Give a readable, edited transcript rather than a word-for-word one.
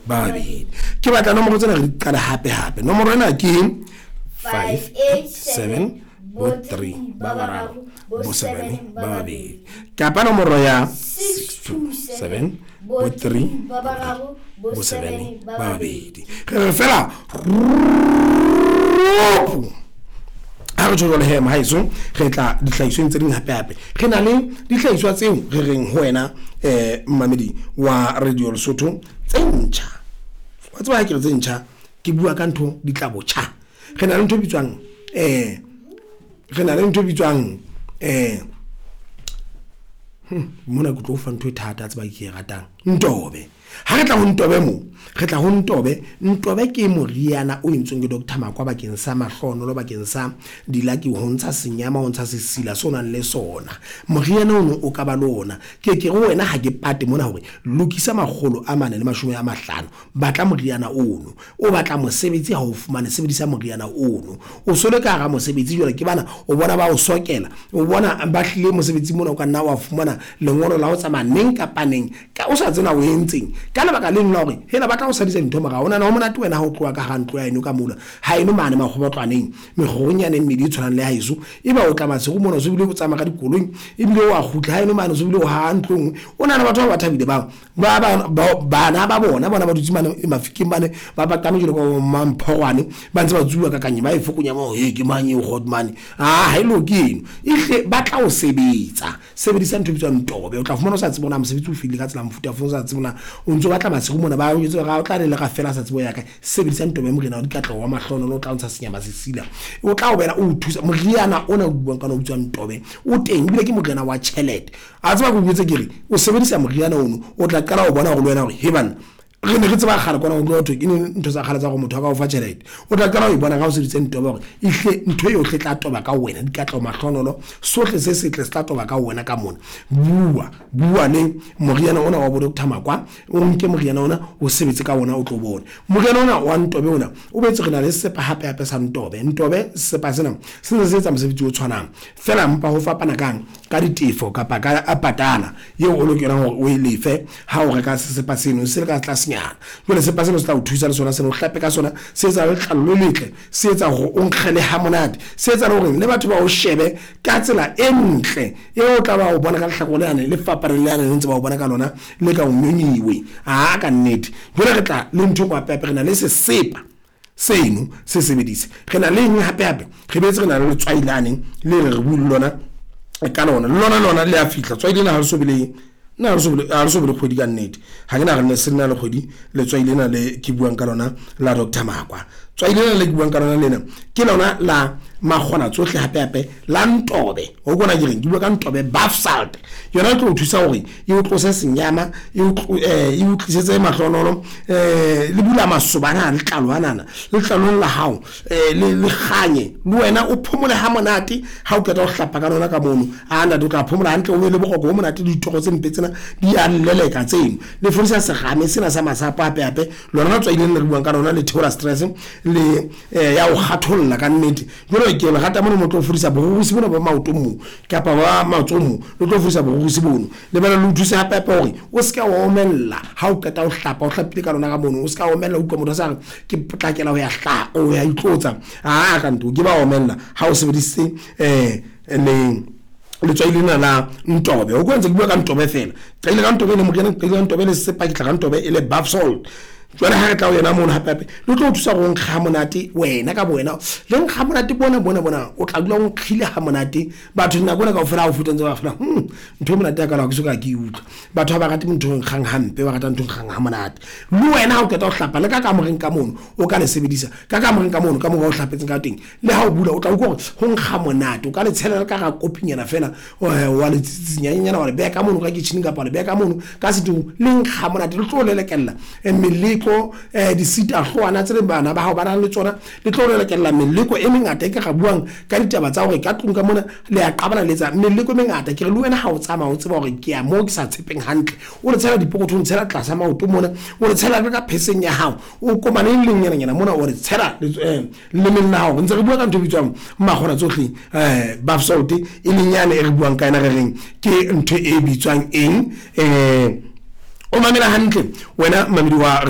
Ba babedi. Ke batla nomoro tsena re di qale hape hape. Nomoro ena ke 587 bo 3 ba bararo bo 7 ba babedi. Kapa nomoro ya 627 bo 3 ba bararo bo 7 ba babedi. Re re fela ropo. Ha re tjho jwalo he mohaeso, re tla dihlahisweng tse ding hape hape. Re na le dihlahiswa tseo re reng ho wena mmamedi wa Radio Lesotho tse ntjha. Wa tseba ha ke re tse ntjha, ke bua ka ntho di tla botjha. Re na le ntho e bitswang re na le ntho e bitswang mona ke tlo fa ntho e thata tseba ke e ratang. Ntobe. Ha re tla ho Ntobe mo, re tla ho Ntobe. Ntobe ke moriana o entsweng ke Doctor Makwa bakeng sa mahlohonolo, bakeng sa dilaki, ho ntsha senyama, ho ntsha sesila se o nang le sona. Moriana ono o ka ba le ona. Ke ke re ho wena ha ke pate mona hore lokisa 450, batla moriana ono. O batla mosebetsi ha o fumane, sebedisa moriana ono. O so le ka hara mosebetsi jwale ke bana, o bona ba o sokela, o bona ba hlile mosebetsi mona o ka nna wa fumana lengolo la ho tsamaya neng kapa neng. Ka o sa tsena o entseng ka lebaka leno la hore hela ba tla o sadisa dintho morao. O nahana ho monate wena ha o tloha ka hara ntlo ya heno ka mola haeno mane makgobotlwaneng, mekgoronyana e mmedi e tshwanang le ya heso. Eba o tla masigo mona o so bile o tsamaya ka dikoloi ebile o a kgutla haeno mane o so bile o haha ntlo e nngwe. O nahana batho ba ba thabile bao ba ba bana ba bona bona ba dutse mane mafikeng mane ba paqame jwalo ka mamphorwane ba ntse ba tsuba ka kanye ba e fokonya mo he ke mang eo Godmane a ha e loke eno ehle ba tla o sebetsa. Sebedisa ntho e bitswang ntobe. O tla fumana o sa tsebe hore na mosebetsi o fedile ka tsela mofuta ofe, o sa tsebe na o ntso batla masigo mona ba o jwetse hore o tla le lera fela a sa tsebe ho ya kae. Sebedisa ntobe morena wa dikatleho wa mahlohonolo o tla o ntsha senyama sesila. O tla o bela o o thusa. Moriana ona o buang ka ona o bitswang ntobe o teng ebile ke moriana wa tjhelete. A tseba ke o jwetse ke re o sebedisa moriana ono o tla qala ho bona hore le wena hore he banna re ne re tseba kgale kwana ho tloha thwe ke ntho tsa kgale tsa gore motho a ka o fa tjhelete. O tla qala ho e bona ka o sebeditse ntobe hore ehlile ntho yohle e tla toba ka wena, dikatleho, mahlohonolo, sohle se setle se tla toba ka wena ka mona. Bua, bua le moriana ona wa bo Doctor Makwa, o nke moriana ona o sebetse ka ona o tlo bone. Moriana ona wa ntobe ona o boetse re na le sesepa hape hape sa ntobe. Ntobe sesepa sena se ntse se etsa mosebetsi o tshwanang fela empa ho fapana kang ka ditefo kapa ka patala eo o lokelang hore o e lefe ha o reka sesepa seno se le ka tlasenyana. Jwale sesepa seno se tla o thusa le sona seno o hlape ka sona, se etsa letlalo le letle, se etsa hore o nkgele ha monate, se etsa le hore le batho ba o shebe ka tsela e ntle eo o tla ba o bona ka lehlakore lane le fapaneng le lane le ntse ba o bona ka lona le ka o nyonyiwe. Aa ka nnete. Jwale re tla le ntho e nngwe hape hape re na le sesepa seno se sebedise. Re na le eng hape hape? Re boetse re na le letswai lane le re re bue le lona ka lona. Le lona lona le a fihla. Tswai lena ha le so be le nna ha le so be ha le so be le kgwedi ka nnete. Ha ke nahane se na le kgwedi letswai lena le ke buang ka lona la Doctor Makwa. Tswai lena le ke buang ka lona lena ke lona la makgona tsohle hape hape la ntobe. O kona ke reng ke bua ka ntobe bath salt. Yona e tlo o thusa hore e o tlose senyama, e o e o tlisetse mahlonolo, le bula masoba ana letlalo anana letlalong la hao le le kganye le wena o phomole ha monate ha o qeta ho hlapa ka lona ka mono. A ntate o tla phomola hantle, o be le boroko bo monate, ditoro tse mpe tsena di a leleka tseno. Le fodisa serame sena sa masapo hape hape lona letswai lena le re buang ka lona le theola stress le ya o kgatholla ka nnete. Jwale ke le rata mona mo tlo fodisa borurusi bona ba maoto mo kapa ba matsoho mo, le tlo fodisa borurusi bono. Le bana le o thuse hape hape hore o se ke wa omella ha o qeta ho hlapa, o hlapile ka lona ka mono, o se ka omella. Utlwa motho a sa re ke potlakela ho ya hla o ya itlotsa, aa ka nto ke ba omella ha o sebedisitse le letswai lena la ntobe. O kwa ntse ke bua ka ntobe fela, qadile ka ntobe le moriana, qadile ka ntobe le sesepa, ke tla ka ntobe e le bath salt. Jwale ha re tla ho yena mono hape hape le tlo o thusa hore o nkge ha monate wena ka bowena, le nkga monate bona bona bona, o tla dula o nkgile ha monate. Batho nako ena kaofela ha o feta ntse ba fela ntho e monate ya kalo ha ke so ka ke e utlwa. Batho ha ba rate ntho e nkgang hampe, ba rata ntho e nkgang ha monate. Le wena ha o qeta ho hlapa le ka kamoreng ka mono o ka le sebedisa, ka kamoreng ka mono ka moo ba o hlapetseng ka teng, le ha o bula o tla utlwa hore ho nkga monate. O ka le tshela le ka hara kopinyana fela wa le tsitsinyanyana wa le beha ka mono ka kitchen kapa wa le beha ka mono ka setofong, le nkga monate. Le tlo lelekella meleko disitahlowana tse leng bana ba hao ba nang le tsona, le tlo lelekella meleko e mengata e ka re buang ka ditaba tsa hore ka tlung ka mona le a qabana le etsa meleko e mengata. Ke re le wena ha o tsamaya o tseba hore ke ya moo ke sa tshepeng hantle, o le tshela dipokothong, tshela tlasa maoto mona, o le tshela le ka pheseng ya hao, o komane le lenyananyana mona, o re tshela lelemeng la hao. Re ntse re bua ka ntho e bitswang makgona tsohle bath salt e leng yane e re buang ka yona, re reng ke ntho e bitswang eng. O mamela hantle wena mamedi wa.